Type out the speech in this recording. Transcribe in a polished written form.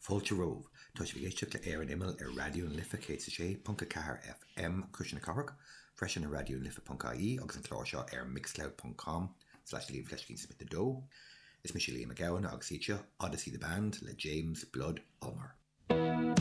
Fáilte romhaibh. Tá sibh ag éisteacht le Ar an Imeall ar Raidió na Life 106.4 FM, Cuisle na Cathrach, freisin ar raidionalife.ie agus an clár seo ar mixcloud.com slash liamfleiscínsmith 2. Is mise Liam Mac Gabhann agus iad seo Odyssey the Band le James Blood Ulmer.